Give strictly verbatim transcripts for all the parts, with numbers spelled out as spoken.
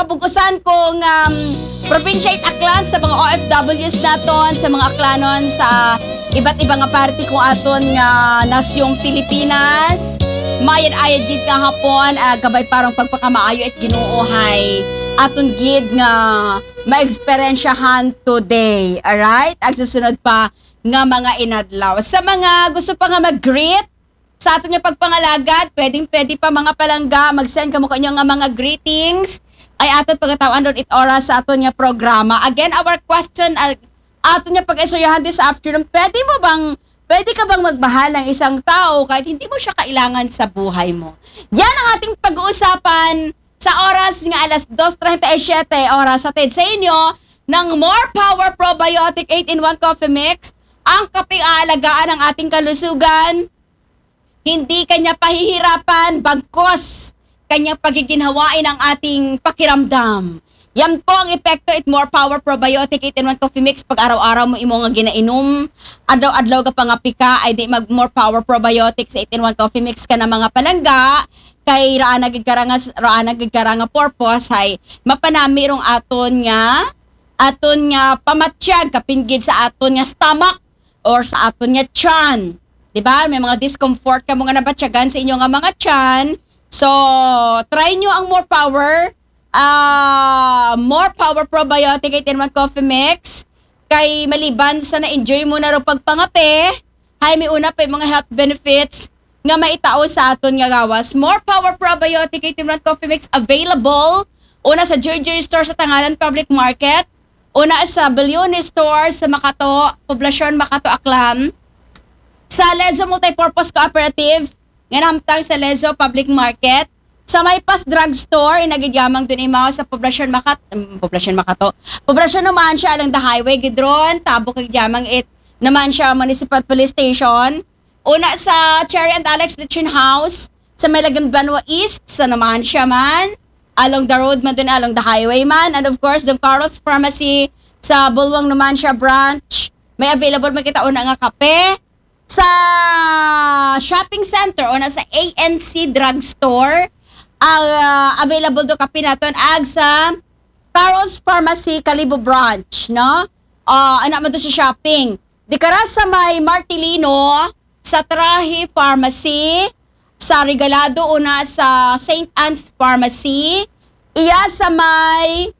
Pag-usan kong um, probinsya it Aklan sa mga O F Ws naton, sa mga Aklanon sa iba't ibang parte kung aton nga nasyong Pilipinas. Mayad-ayad gid nga hapon, ah, gabay parang pagpakamaayo at Ginoo hay aton gid nga maeksperiensyahan today. Alright? Ag sa sunod pa nga mga inadlaw. Sa mga gusto pa nga mag-greet, sa aton nga pagpangalagad, pwedeng pwede pa mga palangga, mag-send kamo kanyo nga mga greetings. Ay aton pagataw-an ron it oras sa aton nga programa. Again, our question, uh, aton nga pag-istoryahan this afternoon, pwede mo bang, pwede ka bang magmahal ng isang tao kahit hindi mo siya kailangan sa buhay mo? Yan ang ating pag-uusapan sa oras nga alas dos treinta y siete oras, hatid sa inyo ng More Power Probiotic eight in one Coffee Mix, ang kaping aalagaan ng ating kalusugan. Hindi kanya pahihirapan, bagkos kanyang pagiginhawain ang ating pakiramdam. Yan po ang epekto it More Power Probiotic eight in one Coffee Mix. Pag araw-araw mo imo nga ginainom, adlaw-adlaw ka pangapi ka, ay di mag More Power Probiotic sa eight in one Coffee Mix ka na mga palangga. Kay raan na gid kara nga, raan na gid kara nga purpose hay mapanami rong aton nga, aton nga pamatyag kapin gid sa aton nga stomach or sa aton nga tiyan. Di ba? May mga discomfort kamo nga nabatyagan sa inyo nga mga tiyan. So, try nyo ang More Power, ah, More Power Probiotic eight in one Coffee Mix. Kay maliban sa na-enjoy mo na ro pagpangape, hay may una pa yung mga health benefits nga maitao sa aton nga gawas. More Power Probiotic eight in one Coffee Mix available una sa Joy Joy Store sa Tangalan Public Market, una sa Balione Store sa Makato, Poblacion Makato, Aklan, sa Lezo Multipurpose Cooperative nga nahamtang sa Lezo Public Market, sa Maypas Drugstore, ina gid yamang dun imaw sa Poblacion Makat-, mm, Poblacion Makato. Poblacion Numancia along the highway gid ron, tabok gid yamang it Numancia Municipal Police Station. Una sa Cherry and Alex Lechon House sa may Lagim Banwa East sa Numancia man. Along the road man dun, along the highway man. And of course, Don Carlos Pharmacy sa Bulwang Numancia Branch. May available man kita una nga kape. Sa shopping center o na sa A N C Drugstore, ah, available do kape naton ag sa Carlos Pharmacy Kalibo Branch, no? Ah, ana man do sa shopping. Di kara sa may Martilino, sa Trahe Pharmacy, sa Regalado, una sa Saint Anne's Pharmacy, iya sa may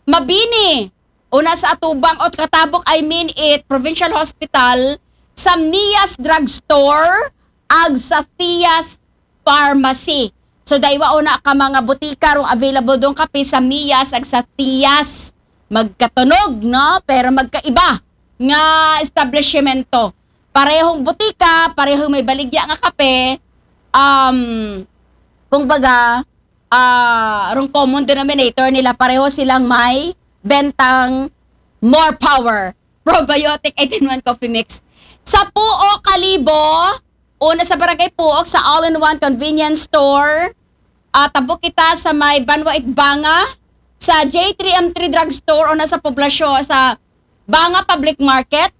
Mabini, una sa Atubang, o katabok, I mean it, Provincial Hospital, sa Mias Drugstore, ag sa Tias Pharmacy. So, daywa una ka mga butika rong available dong kape sa Mias ag sa Tias. Magkatunog, no? Pero magkaiba nga establishmento. Parehong butika, parehong may baligya nga kape. Um, kung baga, ah, rong common denominator nila, pareho silang may bentang More Power Probiotic eight in one Coffee Mix. Sa Puok, Kalibo, una sa Barangay Puok, sa All-in-One Convenience Store. Ah, tabok kita sa may Banwa it Banga, sa J three M three Drugstore, una sa poblasyon, sa Banga Public Market,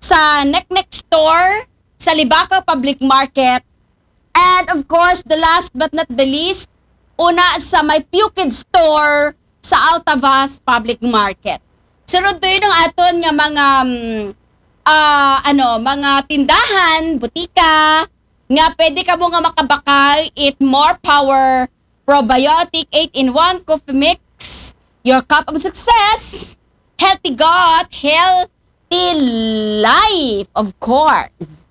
sa Neknek Store, sa Libacao Public Market, and of course, the last but not the least, una sa may Pukid Store sa Altavas Public Market. Sunod to yun ang aton nga mga, mm, ah, ano, mga tindahan, butika, nga pwede kamo nga makabakal it More Power Probiotic eight in one Coffee Mix. Your cup of success. Healthy gut, healthy life, of course.